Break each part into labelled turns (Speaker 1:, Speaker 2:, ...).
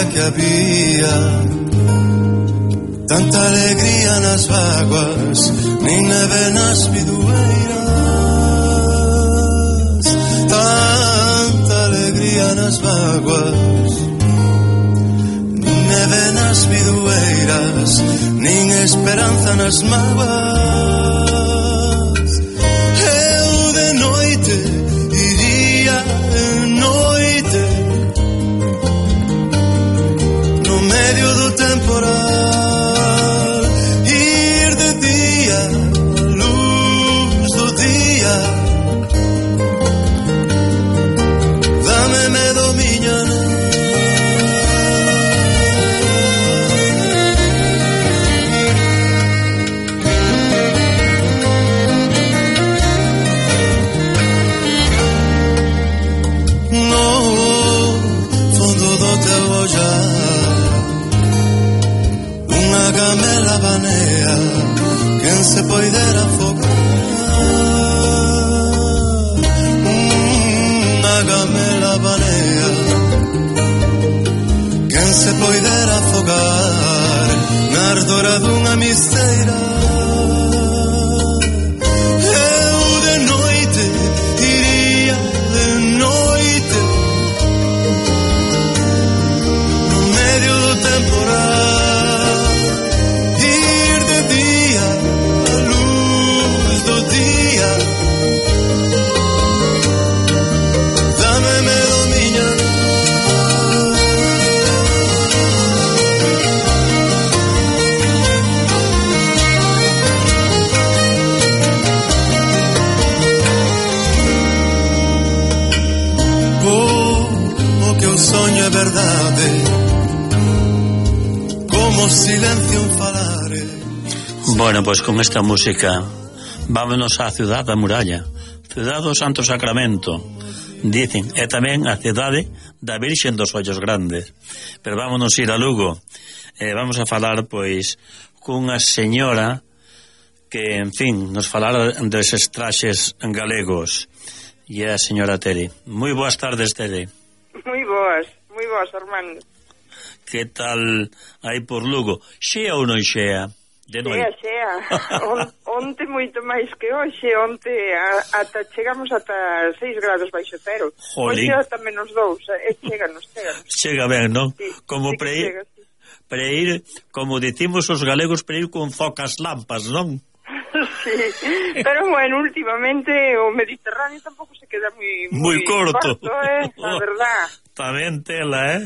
Speaker 1: creía que había tanta alegría nas vaguas, nin neve nas bidueiras. Tanta alegría nas vaguas, nin neve nas bidueiras, nin esperanza nas mágoas. Eu de noite iría de noite no medio do temporal, ir de día a luz do día. Dame medo miña gamela banea, quen se poidera afogar. Unha gamela banea, quen se poidera afogar na ardora dunha misteira. Eu de noite iría de noite no medio do temporal, soño é verdade, como silencio en falare.
Speaker 2: Bueno, pois con esta música vámonos á cidade da muralla, cidade do Santo Sacramento, dicen, e tamén a cidade da Virxen dos Ollos Grandes. Pero vámonos ir a Lugo, vamos a falar pois cunha señora que, en fin, nos falara deses traxes galegos, e a señora Tere. Moi boas tardes, Tere.
Speaker 3: Moi boas, Armando.
Speaker 2: Que tal aí por Lugo? Xea ou non xea?
Speaker 3: Xea. Onte moito máis que hoxe. Onte ata chegamos ata 6 grados baixo cero. Hoxe ata menos 2. Chega
Speaker 2: ben, non?
Speaker 3: Sí,
Speaker 2: como
Speaker 3: sí
Speaker 2: para ir, como dicimos os galegos, para ir con focas lampas, non?
Speaker 3: Sí, pero bueno, últimamente o Mediterráneo tampouco se queda moi
Speaker 2: corto,
Speaker 3: a verdad.
Speaker 2: Tamén tela,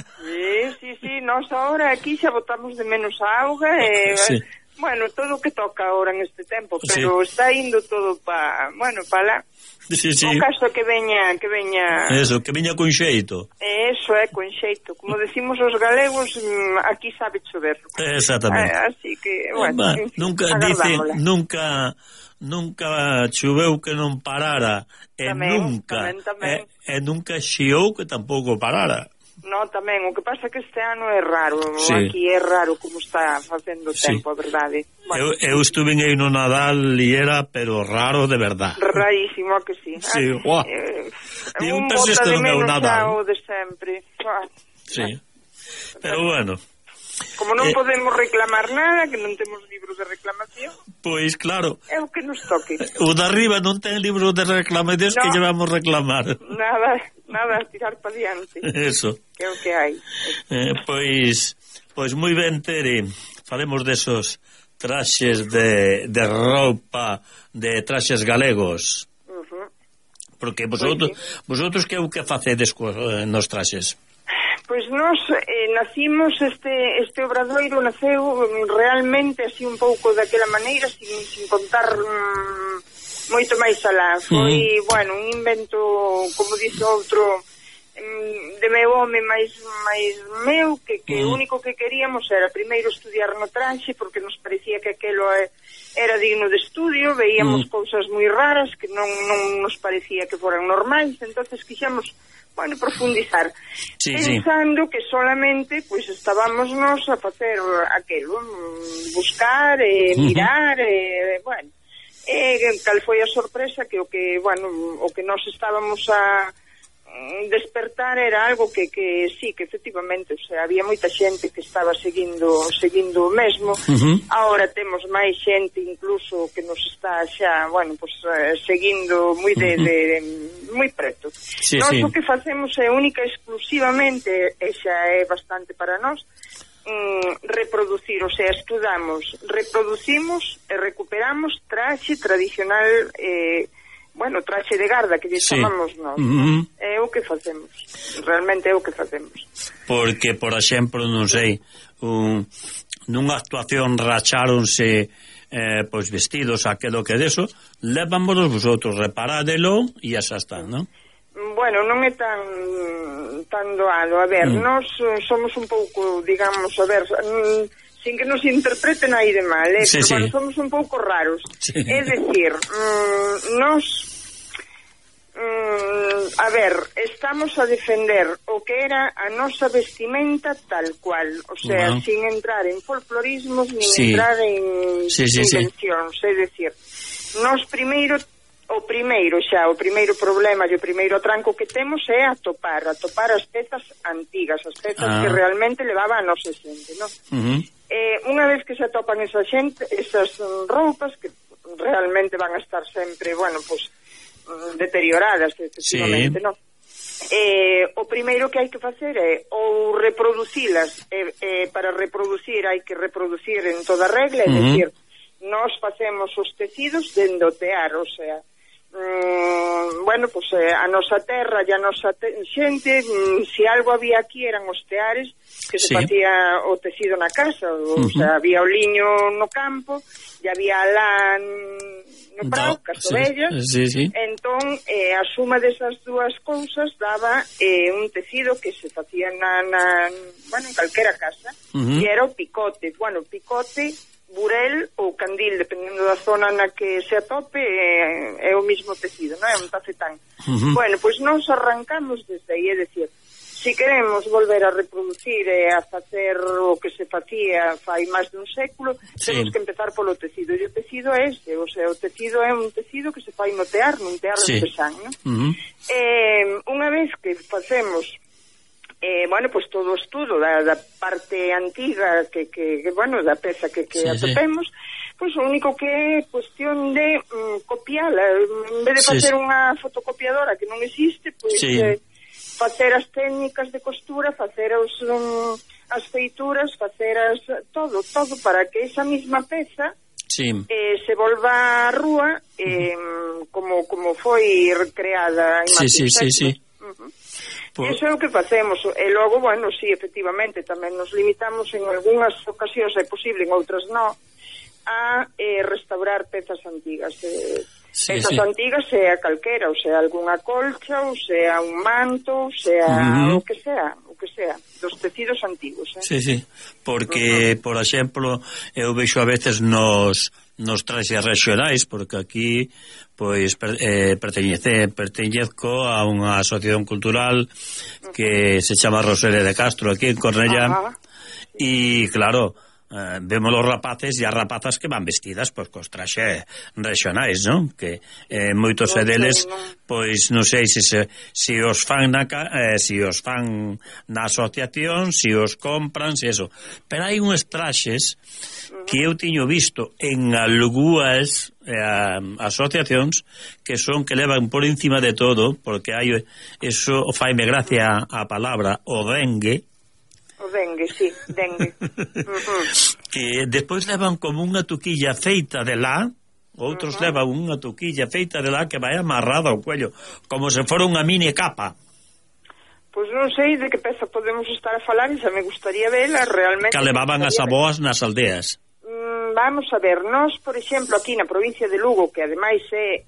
Speaker 3: Sí, nós ahora aquí xa botamos de menos a auga
Speaker 2: sí.
Speaker 3: Bueno, todo o que toca ahora en este tempo, pero sí, está indo todo para lá.
Speaker 2: Sí.
Speaker 3: O caso que veña
Speaker 2: eso, que veña con xeito.
Speaker 3: Eso é, con xeito. Como decimos os galegos, aquí sabe chover.
Speaker 2: Exactamente.
Speaker 3: Así que, bueno,
Speaker 2: nunca choveu que non parara,
Speaker 3: tamén.
Speaker 2: Nunca xiou que tampouco parara.
Speaker 3: No, tamén, o que pasa é que este ano é raro,
Speaker 2: sí.
Speaker 3: Aquí é raro como está facendo o tempo, a verdade.
Speaker 2: Bueno, eu estuve aí no Nadal e era, pero raro de verdad.
Speaker 3: Rarísimo, que sí.
Speaker 2: Sí, guau.
Speaker 3: Un bota de menos xa o de sempre.
Speaker 2: Sí, pero bueno.
Speaker 3: Como non podemos reclamar nada, que non temos libros de reclamación.
Speaker 2: Pois claro.
Speaker 3: É o que nos toque.
Speaker 2: O de arriba non ten libros de reclamación, que llevamos reclamar.
Speaker 3: Nada, tirar para diante.
Speaker 2: Eso.
Speaker 3: Que é o que hai.
Speaker 2: Pois moi ben, Tere. Falemos desos traxes de roupa, de traxes galegos. Porque vosotros que é o que facedes nos traxes?
Speaker 3: Pois nós nacimos, este obradoiro naceu realmente así un pouco daquela maneira, sin contar moito máis alá. Foi, bueno, un invento, como dice outro, de meu home máis meu, que o único que queríamos era primeiro estudiar no traxe, porque nos parecía que aquelo era digno de estudio, veíamos cousas moi raras que non nos parecía que foran normais, entonces quixemos, bueno, profundizar, pensando que solamente pues estábamos nos a facer aquelo, buscar, mirar, bueno, cal foi a sorpresa que o que nós estábamos despertar era algo que sí, que efectivamente, o sea, había moita xente que estaba seguindo o mesmo. Ahora temos máis xente incluso que nos está xa, bueno, pues seguindo moi moi preto. Nós o que facemos é única e exclusivamente, e xa é bastante para nós, reproducir, o sea, estudamos, reproducimos e recuperamos traxe tradicional, bueno, traxe de garda que lle chamamos nós. É o que facemos, realmente é o que facemos.
Speaker 2: Porque, por exemplo, non sei, nunha actuación racháronse pois vestidos, aquelo que deso, levámonos vosotros, reparádelo e xa está, non?
Speaker 3: Bueno, non é tan doado. A ver, nós somos un pouco, digamos, a ver, sin que nos interpreten aí de mal, pero bueno, somos un pouco raros. É dicir, nós, a ver, estamos a defender o que era a nosa vestimenta tal cual, o sea, sin entrar en folclorismos, nin entrar en invencións, é dicir, nós primeiro, o primeiro problema e o primeiro tranco que temos é atopar as pezas antigas, as pezas que realmente levaba a nosa xente, non? Unha vez que se atopan esas roupas que realmente van a estar sempre, bueno, pues deterioradas, efectivamente, non? O primeiro que hai que facer é ou reproducilas, para reproducir hai que reproducir en toda regla, é dicir, nós facemos os tecidos dende o tear, o sea, bueno, pues a nosa terra e a nosa xente, se algo había aquí eran os teares que se facía o tecido na casa, o sea, había o liño no campo e había lã no prado, cas ovellas, entón a suma desas dúas cousas daba un tecido que se facía bueno, en calquera casa, e era o picote, bueno, picote, burel ou candil, dependendo da zona na que se atope, é o mismo tecido, non é un tafetán. Bueno, pois nos arrancamos desde aí, é dicir, se queremos volver a reproducir e a facer o que se facía fai máis de un século, temos que empezar polo tecido, e o tecido é ese, o sea, o tecido é un tecido que se fai no tear artesán, non? Unha vez que facemos bueno, pues todo o estudo da parte antiga que bueno, da peza que atopemos, pues o único que é cuestión de copiala, en vez de facer unha fotocopiadora que non existe, pues facer as técnicas de costura, facer as feituras, facer todo para que esa misma peza se volva a rúa como foi recreada en Matías. Eso é o que facemos, e logo, bueno, sí, efectivamente, tamén nos limitamos en algunhas ocasións, é posible, en outras non, a restaurar pezas antigas. Pezas antigas, sea calquera, ou sea algunha colcha, ou sea un manto, ou sea o que sea, dos tecidos antigos.
Speaker 2: Porque, por exemplo, eu vexo a veces nos traxes regionais, porque aquí pois perteñezco a unha asociación cultural que se chama Rosalía de Castro aquí en Cornellá, e claro, vemos os rapaces e as rapazas que van vestidas pois cos traxes regionais, non? Que moitos deles pois non sei se os fan se os fan na asociación, se os compran, se eso, pero hai uns traxes que eu tiño visto en algúas asociacións que son que levan por encima de todo, porque hai eso, faime gracia a palabra o dengue,
Speaker 3: sí, dengue.
Speaker 2: Que despois levan como unha tuquilla feita de lá, outros levan unha tuquilla feita de lá que vai amarrada ao cuello, como se fora unha mini capa.
Speaker 3: Pois non sei de que peza podemos estar a falar, e xa me gustaría vela realmente.
Speaker 2: Que levaban as aboas nas aldeas.
Speaker 3: Vamos a ver, nós, por exemplo, aquí na provincia de Lugo, que ademais é,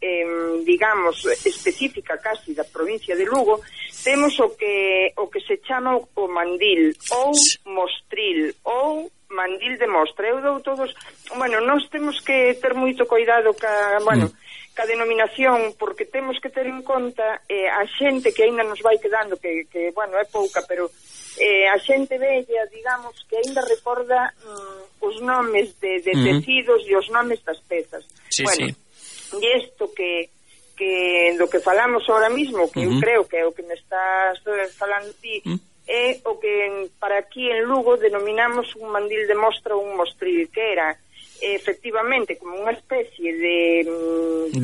Speaker 3: digamos, específica casi da provincia de Lugo, temos o que se chama o mandil, ou mostril, ou mandil de mostra. Eu dou todos... Bueno, nós temos que ter moito cuidado ca denominación, porque temos que ter en conta a xente que aínda nos vai quedando, que bueno, é pouca, pero a xente bella, digamos, que aínda recorda os nomes de tecidos e os nomes das pezas. E isto que do que falamos ahora mismo, que eu creo que é o que me estás falando ti, é o que para aquí en Lugo denominamos un mandil de mostra ou un mostril, que era efectivamente como unha especie de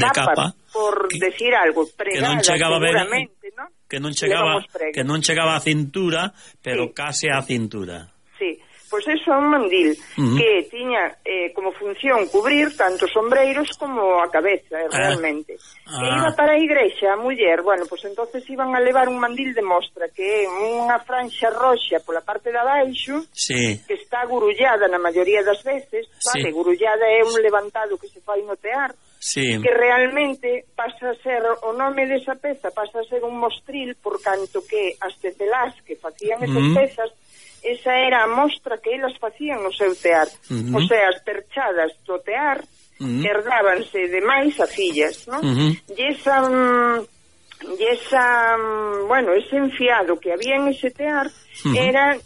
Speaker 3: capa, por decir algo, pregada seguramente, ¿no?
Speaker 2: Que non chegaba a cintura, pero case a cintura.
Speaker 3: Sí, pois eso é un mandil que tiña como función cubrir tanto os sombreiros como a cabeza, realmente. Que iba para a igrexa, a muller, bueno, pois entonces iban a levar un mandil de mostra, que é unha franxa roxa pola parte de abaixo, que está gurullada na maioría das veces, vale? Gurullada é un levantado que se fai no tear, que realmente pasa a ser, o nome desa peza pasa a ser un mostril, por canto que as tecelás que facían esas pezas, esa era a mostra que elas facían no seu tear. O sea, as perchadas do tear herdábanse demais a fillas, ¿no? E ese enfiado que había en ese tear eran,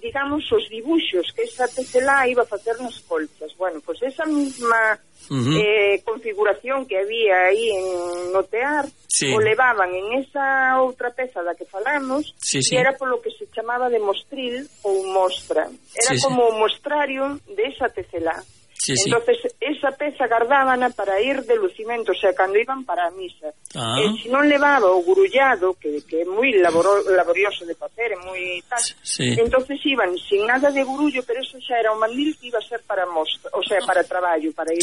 Speaker 3: digamos, os dibuxos que esa tecelá iba a facer nas colchas. Bueno, pues esa misma configuración que había aí no tear, o levaban en esa outra peza da que falamos, que era polo que se chamaba de mostril ou mostra. Era como o mostrario de esa tecelá. Entonces esa peza gardábana para ir de lucimento, o sea, cando iban para a misa. Se non levaba o gurullado, que é moi laborioso de facer, é moi tal, entonces iban sin nada de gurullo, pero eso xa era un mandil que iba a ser para mostra, o sea, para traballo, para ir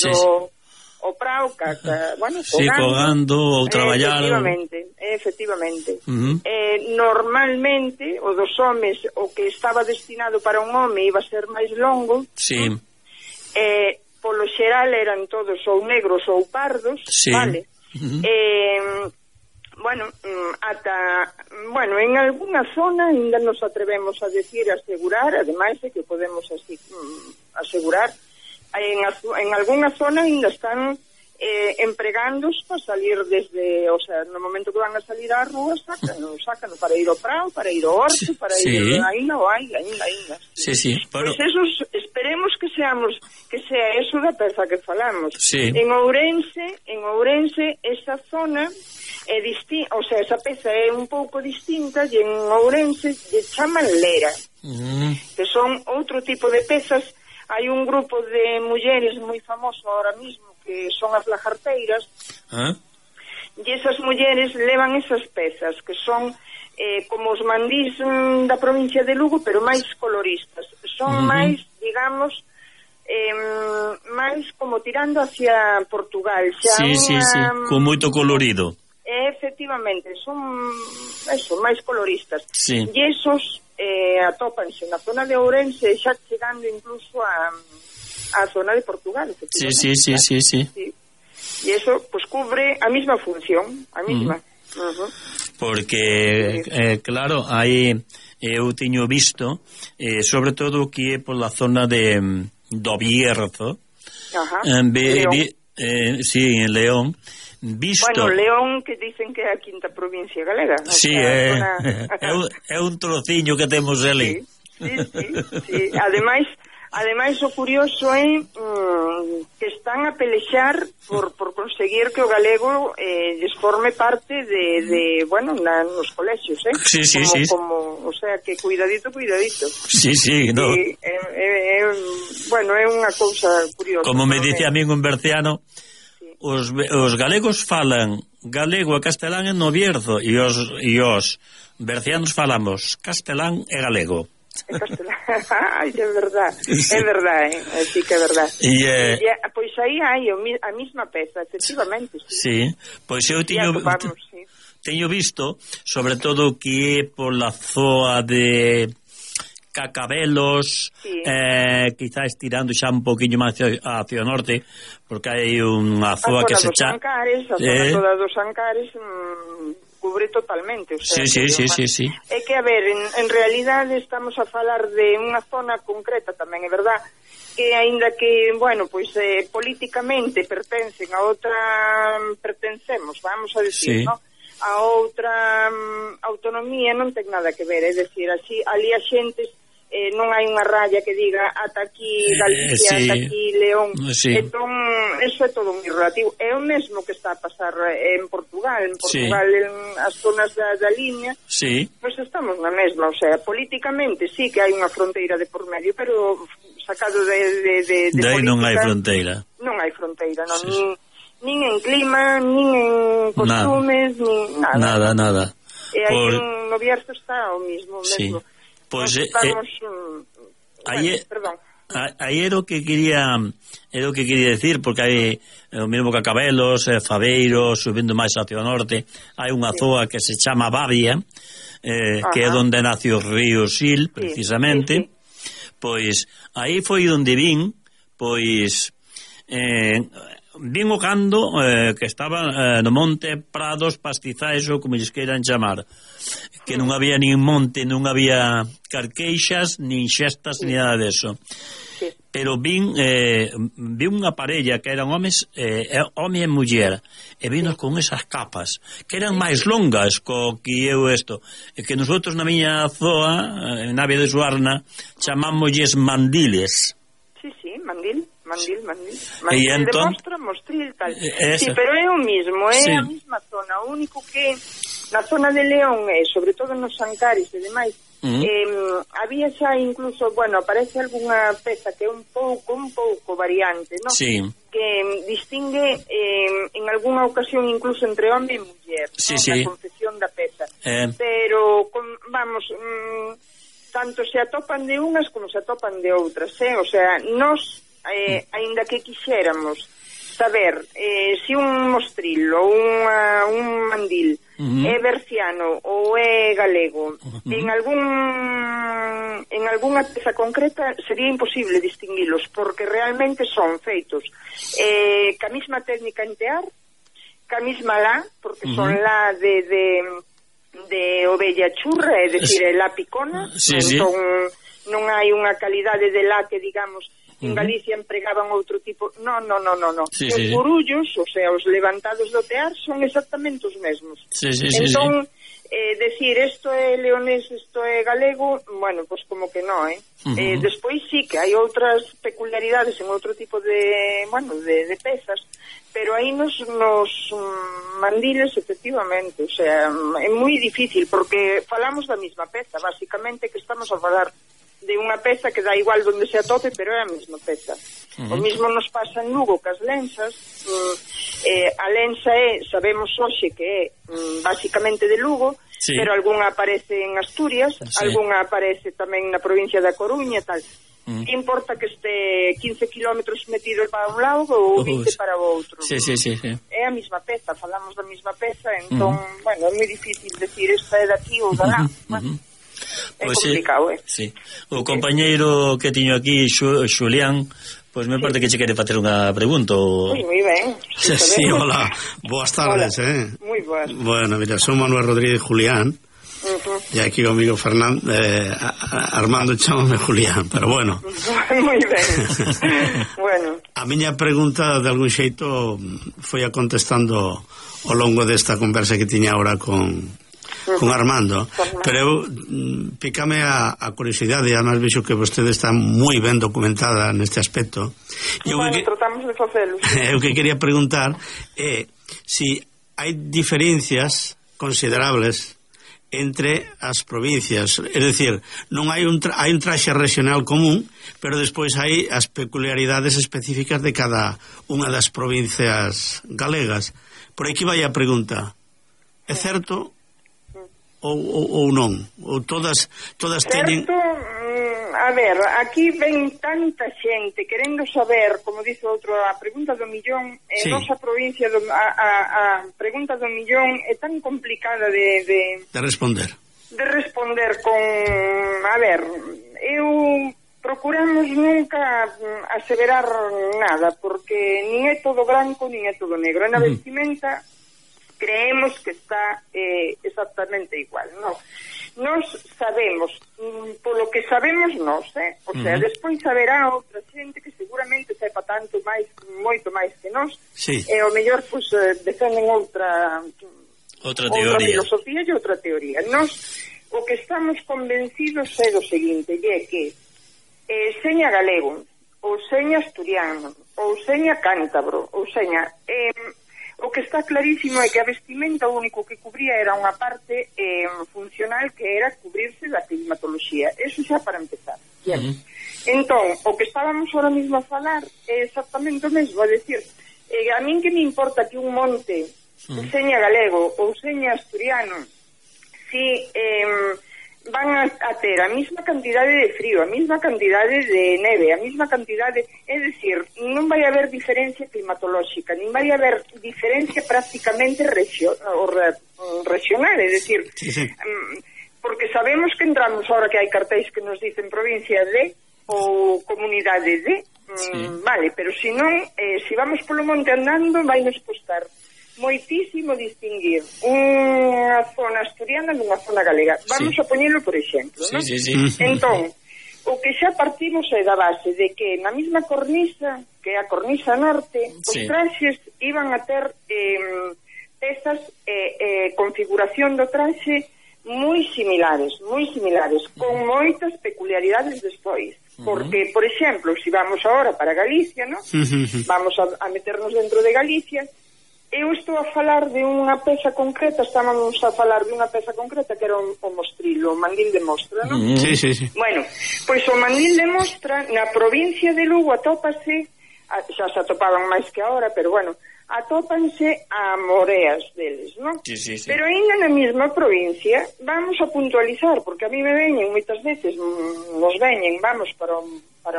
Speaker 3: ao prao, bueno,
Speaker 2: cogando ou traballar.
Speaker 3: Efectivamente. Normalmente, o dos homes, o que estaba destinado para un home iba a ser máis longo, polo xeral eran todos ou negros ou pardos, vale? En algunha zona ainda nos atrevemos a decir, asegurar, ademais de que podemos así asegurar, en algunha zona ainda están empregándos para salir desde, o sea, no momento que van a salir á rúa, sacan para ir ao prao, para ir ao orto, para ir ainda. Pois esos, esperemos que sea eso da peza que falamos. En Ourense esa zona é distinta, o sea, esa peza é un pouco distinta, e en Ourense lle chaman lera, que son outro tipo de pezas. Hai un grupo de mulleres moi famoso ahora mismo que son as lagarteiras, e esas mulleres levan esas pezas que son como os mandís da provincia de Lugo, pero máis coloristas, son máis, digamos, máis como tirando hacia Portugal, xa
Speaker 2: con moito colorido.
Speaker 3: Efectivamente, son eso, máis coloristas, e esos atópanse na zona de Ourense, xa chegando incluso a zona de Portugal, efectivamente. E eso, pues, cubre a mesma función, a mesma.
Speaker 2: Porque, claro, aí eu teño visto, sobre todo que é pola zona do Bierzo, en León, visto...
Speaker 3: Bueno, León, que dicen que é a quinta provincia galega.
Speaker 2: É un trociño que temos ali.
Speaker 3: Sí. Ademais o curioso é que están a pelexar por conseguir que o galego lles forme parte de nos colexios, como, o sea, que cuidadito.
Speaker 2: No.
Speaker 3: É unha cousa curiosa.
Speaker 2: Como me dice a mí un berciano, os galegos falan galego e castelán en no Bierzo, e os bercianos falamos castelán e galego.
Speaker 3: Ai, é verdade, sí que é verdade. Pois aí hai a mesma peza, efectivamente.
Speaker 2: Pois eu teño visto, sobre todo que é pola zoa de Cacabelos, quizás tirando xa un poquinho máis hacia o norte, porque hai unha zoa que se chama
Speaker 3: a zona toda dos Ancares cubre totalmente, o sea,
Speaker 2: sí.
Speaker 3: É que, a ver, en realidade estamos a falar de unha zona concreta tamén, é verdad, que aínda que, políticamente pertencemos, vamos a decir, ¿no? A outra autonomía non ten nada que ver, é decir, así, ali a xente non hai unha raya que diga ata aquí Galicia, ata aquí León. Entón, eso é todo moi relativo. É o mesmo que está a pasar en Portugal. En Portugal, en as zonas da liña, pois estamos na mesma. O sea, políticamente sí que hai unha fronteira de por medio, pero sacado de
Speaker 2: aí non hai fronteira.
Speaker 3: Non hai fronteira, non. Nin en clima, nin en costumes, nin nada. Nada. E aí no Bierzo está o mismo.
Speaker 2: Pois estamos... Aí era o que quería decir, porque hai o mesmo que a Cabelos, Faveiro, subindo máis hacia o norte, hai unha zoa que se chama Babia, que é onde nace o río Sil, precisamente. Pois aí foi onde vin, pois vin o cando que estaba no monte Prados, Pastizais, ou como lles queiran chamar, que non había nin monte, non había carqueixas, nin xestas, ni nada deso. Pero vin unha parella que eran homes, home e muller, e vinos con esas capas que eran máis longas co que eu isto, que nosotros na miña zoa, en Navia de Suarna, chamámosles mandiles.
Speaker 3: Sí, mandil de mostra, mostril, tal. Sí, pero é o mismo, é a mesma zona. O único que na zona de León, sobre todo nos Ancares e demais, había xa incluso, bueno, aparece algunha peza que é un pouco variante, ¿no?
Speaker 2: Sí.
Speaker 3: Que distingue en algunha ocasión incluso entre home e muller, na confección da peza. Pero, vamos... tanto se atopan de unhas como se atopan de outras, o sea, nós, aínda que quixéramos saber se un mostril ou un mandil é berciano ou é galego, en algunha peza concreta sería imposible distinguilos, porque realmente son feitos ca mesma técnica en tear, ca mesma lá, porque son lá de ovella churra, é dicir, la picona, entón non hai unha calidade de la que, digamos, en Galicia empregaban outro tipo, non. Os burullos, o sea, os levantados do tear son exactamente os mesmos. Entón, decir, isto é leonés, isto é galego, bueno, pois como que non, despois sí que hai outras peculiaridades en outro tipo de pezas, pero aí nos mandiles, efectivamente, o sea, é moi difícil, porque falamos da mesma peza, basicamente, que estamos a falar de unha peza que dá igual donde se atope, pero é a mesma peza. O mismo nos pasa en Lugo cas lenzas. A lenza sabemos hoxe que é basicamente de Lugo, pero algunha aparece en Asturias, algunha aparece tamén na provincia da Coruña, tal. Que importa que este 15 kilómetros metido para un lado ou 20 para o outro. É a mesma peza, falamos da mesma peza, entón, bueno, é moi difícil decir esta é daqui ou da lá. É complicado,
Speaker 2: O compañeiro que tiño aquí, Xulián, pois me parece que che quere facer unha pregunta.
Speaker 3: Moi ben.
Speaker 4: Sí, hola, boas tardes.
Speaker 3: Moi boas.
Speaker 4: Bueno, mira, son Manuel Rodríguez Julián, e aquí o amigo Armando chámame Julián, pero bueno.
Speaker 3: Moi ben. Bueno.
Speaker 4: A miña pregunta, de algún xeito, foi a contestando ao longo desta conversa que tiña ahora con Armando, pero eu pícame a curiosidade, e además vexo que vostede está moi ben documentada neste aspecto.
Speaker 3: Tratamos de facelo.
Speaker 4: O que quería preguntar é si hai diferencias considerables entre as provincias, é dicir, non hai un traxe regional común, pero despois hai as peculiaridades específicas de cada unha das provincias galegas. Por aquí vai a pregunta: é certo ou non? Ou todas teñen...
Speaker 3: A ver, aquí ven tanta xente querendo saber, como dice outro, a pregunta do millón, nosa provincia, a pregunta do millón é tan complicada de
Speaker 4: responder.
Speaker 3: De responder con... A ver, eu procuramos nunca aseverar nada, porque nin é todo branco, nin é todo negro. Na vestimenta creemos que está exactamente igual, non? Nos sabemos, polo que sabemos nós, o sea, despois haberá outra xente que seguramente sepa tanto máis, moito máis que nós, e ao mellor, pois, defenden outra filosofía e outra teoría. Nos, o que estamos convencidos é do seguinte, é que seña galego, ou seña asturiano, ou seña cántabro, ou seña, o que está clarísimo é que a vestimenta o único que cubría era unha parte funcional que era cubrirse da climatoloxía. Eso xa para empezar. Bien. Entón, o que estábamos ahora mismo a falar é exactamente o mesmo, é dicir, a min que me importa que un monte seña galego ou seña asturiano, si van a ter a mesma cantidade de frío, a mesma cantidade de neve, a mesma cantidade, é dicir, non vai haber diferencia climatolóxica, nin vai haber diferencia prácticamente regional, é dicir, porque sabemos que entramos ahora que hai cartéis que nos dicen provincia de ou comunidade de, vale, pero se non, se vamos polo monte andando, vai nos costar moitísimo distinguir unha zona asturiana dunha zona galega. Vamos a poñelo por exemplo, non? Entón, o que xa partimos é da base de que na mesma cornisa, que é a cornisa norte, os traxes iban a ter pezas, configuración do traxe moi similares, con moitas peculiaridades despois. Porque, por exemplo, se vamos agora para Galicia, ¿no? Vamos a meternos dentro de Galicia. Eu estou a falar de unha peza concreta, estábamos a falar de unha peza concreta que era o mostril, o mandil de mostra, non?
Speaker 4: Sí.
Speaker 3: Bueno, pois o mandil de mostra na provincia de Lugo atópase, xa se atopaban máis que agora, pero bueno, atópanse a moreas deles, non? Sí. Pero ainda na mesma provincia vamos a puntualizar, porque a mí me veñen moitas veces, nos veñen, vamos para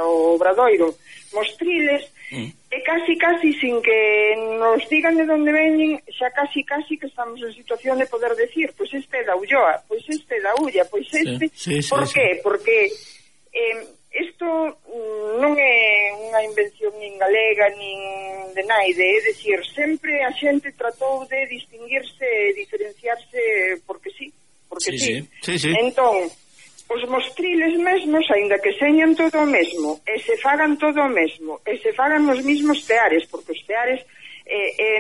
Speaker 3: o Obradoiro, mostriles, e casi sin que nos digan de onde veñen, xa casi que estamos en situación de poder decir, pois este é da Ulloa, pois este é da Ulla, pois este... Por qué? Porque isto non é unha invención nin galega nin de naide, é dicir, sempre a xente tratou de distinguirse e diferenciarse porque sí. Entón, os mostriles mesmos, aínda que señan todo o mesmo, e se fagan todo o mesmo, e se fagan os mesmos teares, porque os teares,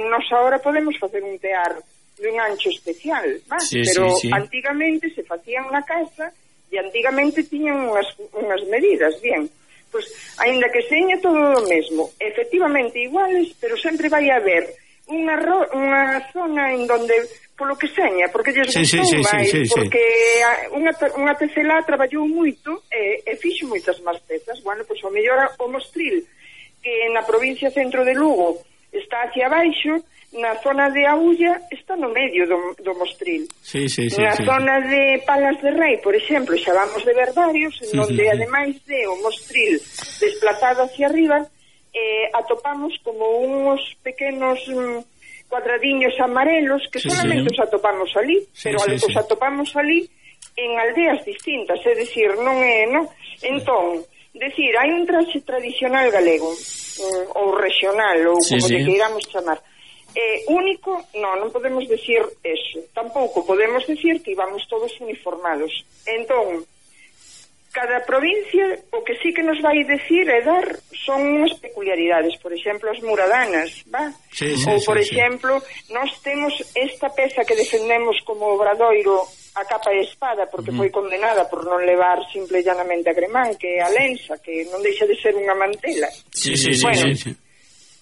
Speaker 3: nos agora podemos facer un tear de un ancho especial, pero antigamente se facían na casa e antigamente tiñan unhas medidas, bien. Pois, aínda que seña todo o mesmo, efectivamente iguales, pero sempre vai haber unha zona en donde polo que seña, porque lles gustou máis, porque unha tecelá traballou moito e fixo moitas máis pezas. Bueno, pois o mellor o mostril que na provincia centro de Lugo está hacia baixo, na zona de Aulla está no medio do mostril. Na zona de Palas de Rei, por exemplo, xa vamos de Verdarios, en onde ademais de o mostril desplazado hacia arriba, atopamos como uns pequenos cuadradiños amarelos que solamente os atopamos ali, pero os atopamos ali en aldeas distintas, é dicir, non é, non? Entón, decir, hai un traxe tradicional galego, ou regional, ou como lle queiramos chamar, único, non podemos decir eso. Tampouco podemos decir que íbamos todos uniformados. Entón, cada provincia o que sí que nos vai decir e dar son unhas peculiaridades, por exemplo, as muradanas, va? Ou, por exemplo, nós temos esta peza que defendemos como Obradoiro a capa e espada, porque foi condenada por non levar simple e llanamente a gremán, que é a lenza, que non deixa de ser unha mantela.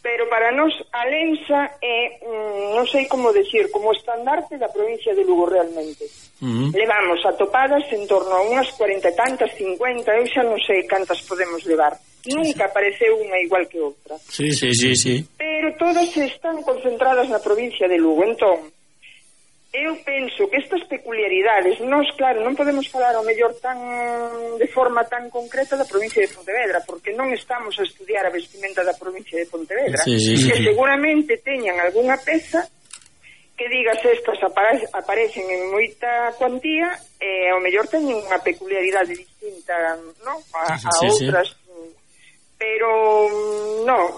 Speaker 3: Pero para nós a lenza é, non sei como decir, como estandarte da provincia de Lugo realmente. Levamos atopadas en torno a unhas 40 e tantas, 50, eu xa non sei cantas podemos levar. Nunca apareceu unha igual que outra. Pero todas están concentradas na provincia de Lugo. Entón, eu penso que estas peculiaridades, nós, claro, non podemos falar ao mellor tan de forma tan concreta da provincia de Pontevedra, porque non estamos a estudiar a vestimenta da provincia de Pontevedra, que seguramente teñan algunha peza que digas estas aparecen en moita cuantía e ao mellor teñen unha peculiaridade distinta, non? A outras, pero non,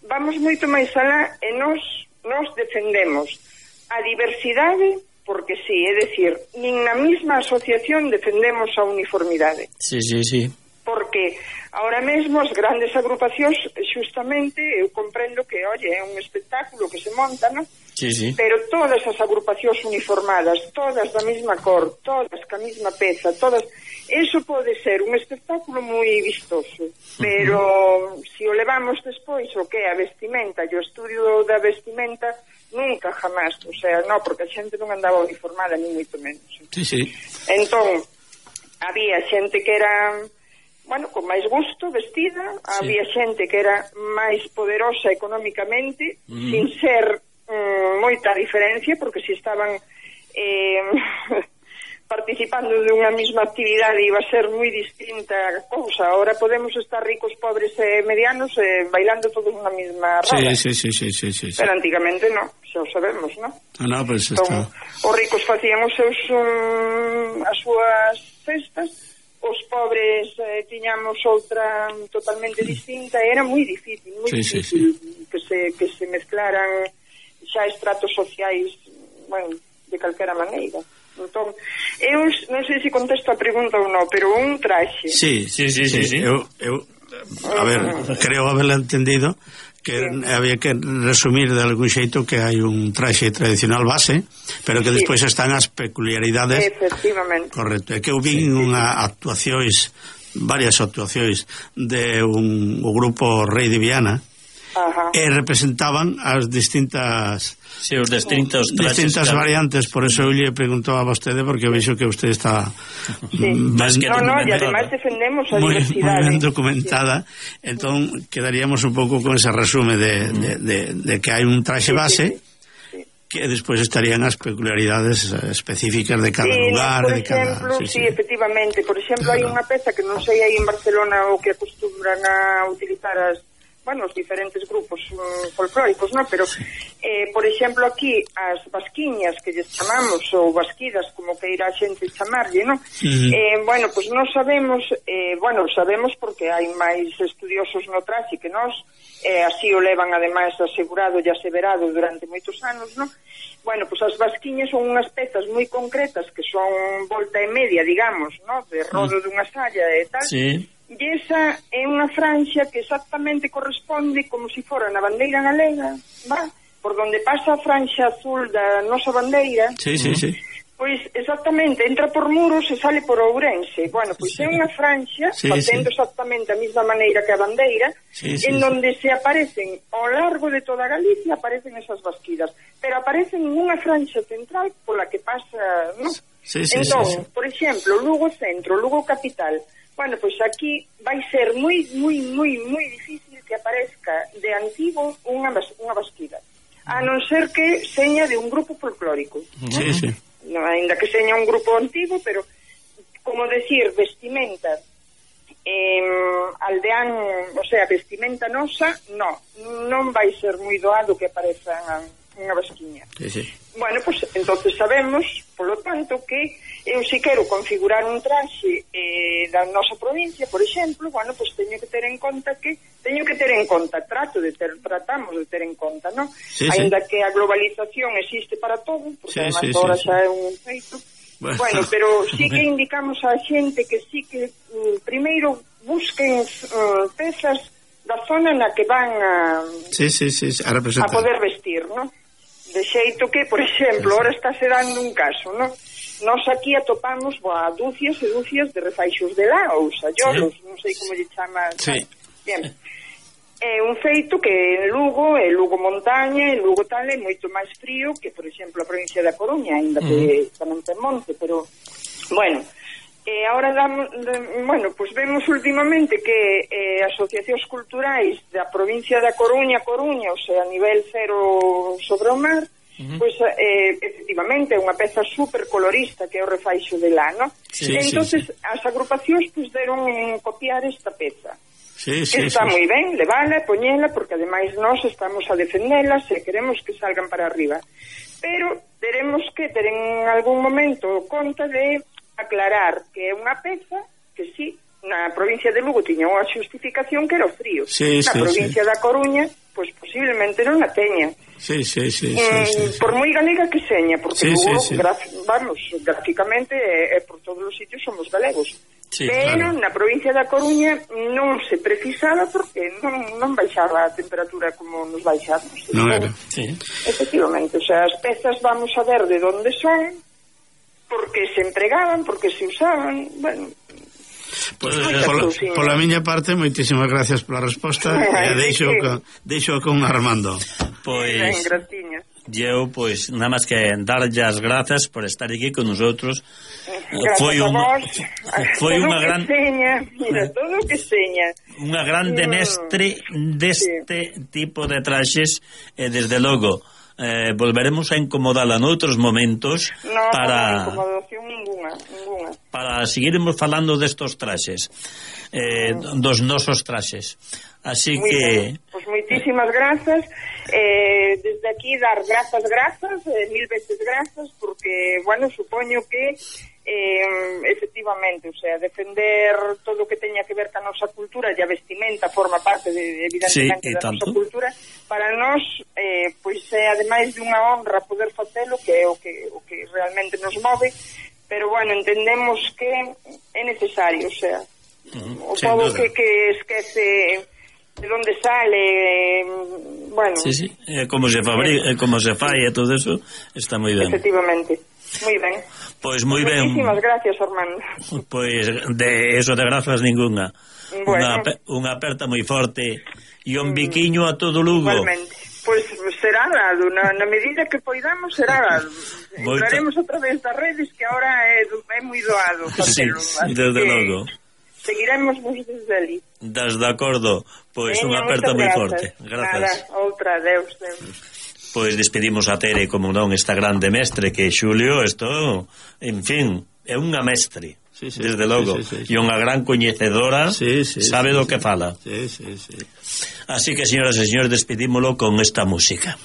Speaker 3: vamos moito máis alá e nós defendemos a diversidade, porque sí, é dicir, nin na mesma asociación defendemos a uniformidade. Porque ahora mesmo as grandes agrupacións, justamente, eu comprendo que, oye, é un espectáculo que se monta, non?
Speaker 2: Sí, sí.
Speaker 3: Pero todas as agrupacións uniformadas, todas da mesma cor, todas ca mesma peza, todas, eso pode ser un espectáculo moi vistoso, pero se o levamos despois o que é a vestimenta e o estudio da vestimenta, nunca jamás, o sea, no, porque a xente non andaba uniformada ni moito menos.
Speaker 4: Sí, sí.
Speaker 3: Entón, había xente que era, bueno, con máis gusto vestida, había xente que era máis poderosa económicamente, sin ser moita diferencia, porque se estaban participando de unha mesma actividade iba a ser moi distinta a cousa. Ahora podemos estar ricos, pobres e medianos bailando todos na mesma roda.
Speaker 4: Sí.
Speaker 3: Pero antigamente non, xa o sabemos, non?
Speaker 4: No, pues
Speaker 3: entón, os ricos facían os seus as súas festas, os pobres tiñamos outra totalmente distinta, era moi difícil, que se mezclaran xa estratos sociais, bueno, de calquera maneira. Entón, eu non sei se contesto a pregunta ou non, pero un traxe.
Speaker 4: Sí. Eu a ver, creo haberla entendido que había que resumir de algún xeito que hai un traxe tradicional base, pero que despois están as peculiaridades.
Speaker 3: Efectivamente.
Speaker 4: Correcto. É que eu vi varias actuacións de o grupo Rei de Viana.
Speaker 3: Ajá.
Speaker 4: E representaban as distintas
Speaker 2: os distintas
Speaker 4: variantes, por eso eu lle preguntou a vostede, porque eu vexo que usted está
Speaker 3: e ademais defendemos a diversidade
Speaker 4: moi ben documentada. Entón quedaríamos un pouco con ese resume de que hai un traxe base que despois estarían as peculiaridades específicas de cada lugar, de cada...
Speaker 3: Efectivamente, por exemplo, hai unha peza que non sei aí en Barcelona o que acostumbran a utilizar os diferentes grupos folclóricos, non? Pero, por exemplo, aquí as basquiñas que lles chamamos, ou basquidas, como que irá a xente chamarlle, non? Bueno, pois non sabemos, sabemos porque hai máis estudiosos no traxe que nós, así o levan ademais asegurado e aseverado durante moitos anos, non? Bueno, pois as basquiñas son unhas pezas moi concretas que son volta e media, digamos, non? De rodo dunha salla e tal. Sí. E esa é unha franxa que exactamente corresponde como se fora na bandeira galega, va? Por donde pasa a franxa azul da nosa bandeira.
Speaker 4: Sí.
Speaker 3: Pois exactamente, entra por Muros e sale por Ourense. Bueno, pois é unha franxa facendo exactamente a mesma maneira que a bandeira, en donde se aparecen ao largo de toda Galicia, aparecen esas basquidas, pero aparecen en unha franxa central pola que pasa, non? Entón, por exemplo, Lugo Centro, Lugo Capital. Bueno, pois aquí vai ser moi difícil que aparezca de antigo unha basquida, a non ser que seña de un grupo folclórico.
Speaker 4: Sí.
Speaker 3: No, ainda que seña un grupo antigo, pero como decir, vestimenta aldeán, o sea, vestimenta nosa, non vai ser moi doado que apareza unha basquiña.
Speaker 4: Sí.
Speaker 3: Bueno, pues entonces sabemos, polo tanto, que eu se quero configurar un traxe da nosa provincia, por exemplo, bueno, pues teño que ter en conta tratamos de ter en conta, non? Ainda que a globalización existe para todo, porque además ahora xa é un feito. Bueno, pero sí que indicamos a xente que sí que primeiro busquen pezas da zona na que van a poder vestir, non? De xeito que, por exemplo, ahora estáse dando un caso, non? Nós aquí atopamos dúcias e dúcias de refaixos de lá, ou saiolos, non sei como lle chama. Bien. É un feito que en Lugo montaña, en Lugo tal, é moito máis frío que, por exemplo, a provincia da Coruña, ainda que tamén ten monte, pero, bueno, ahora pues vemos últimamente que asociacións culturais da provincia da Coruña, o sea, a nivel cero sobre o mar, pues efectivamente é unha peza super colorista que é o refaixo de lá, ¿no? Entonces as agrupacións pues deron en copiar esta peza. Está moi ben, levala, poñela, porque ademais nós estamos a defendelas e queremos que salgan para arriba. Pero teremos que ter en algún momento conta de aclarar que é unha peza que sí, na provincia de Lugo tiña unha justificación que era o frío. Na provincia da Coruña, pois posiblemente non a teña. Por moi galega que seña, porque Lugo, vamos, gráficamente por todos os sitios somos galegos.
Speaker 2: Sí,
Speaker 3: pero
Speaker 2: claro.
Speaker 3: na provincia da Coruña non se precisaba porque non baixaba a temperatura como nos baixamos.
Speaker 4: Non era.
Speaker 2: Sí.
Speaker 3: Efectivamente, o sea, as pezas vamos a ver de onde son, porque se empregaban, porque se usaban, bueno...
Speaker 4: Pois,
Speaker 3: Moitas cousiñas.
Speaker 4: pola miña parte, moitísimas gracias pola resposta e deixo con Armando.
Speaker 3: Ben,
Speaker 2: Pois
Speaker 3: gratiña.
Speaker 2: eu, pois, nada máis que darlle as grazas por estar aquí con nosotros.
Speaker 3: Gracias a vos.
Speaker 2: Foi
Speaker 3: Todo
Speaker 2: unha
Speaker 3: que
Speaker 2: gran
Speaker 3: seña, mira, todo o que seña.
Speaker 2: unha grande mestre deste tipo de traxes e desde logo volveremos a incomodala noutros momentos
Speaker 3: No,
Speaker 2: para
Speaker 3: incomodación ninguna.
Speaker 2: para seguirmos falando destos traxes, dos nosos traxes. Así
Speaker 3: Muy
Speaker 2: que
Speaker 3: ben. Pues moitísimas grazas. Desde aquí dar grazas, mil veces grazas, porque, bueno, supoño que efectivamente, o sea, defender todo o que teña que ver ca nosa cultura e a vestimenta forma parte evidentemente
Speaker 2: sí,
Speaker 3: da nosa cultura. Para nós, pois é ademais de unha honra poder facelo, que é o que realmente nos move, pero bueno, entendemos que é necesario, o sea, o povo que esquece de onde sale, bueno...
Speaker 2: sí, como se fabrica, como se fai e todo eso, está moi ben.
Speaker 3: Efectivamente, moi ben.
Speaker 2: Pois moi ben.
Speaker 3: Moitísimas gracias, Armando.
Speaker 2: Pois de eso de grazas ninguna.
Speaker 3: Bueno.
Speaker 2: Unha aperta moi forte e un biquiño a todo Lugo.
Speaker 3: Igualmente. Pois será dado, na medida que poidamos será dado. Entraremos a través das redes, que ahora é moi doado facelo.
Speaker 2: Sí, desde logo.
Speaker 3: Seguiremos desde ali.
Speaker 2: Das de acordo, pois unha aperta moi forte. Grazas.
Speaker 3: Nada, outra, Deus.
Speaker 2: Pois despedimos a Tere, como non, esta grande mestre que Xulio, isto, en fin, é unha mestre, desde logo, e unha gran coñecedora, sabe do que fala.
Speaker 4: Sí.
Speaker 2: Así que, señoras e señores, despedímolo con esta música.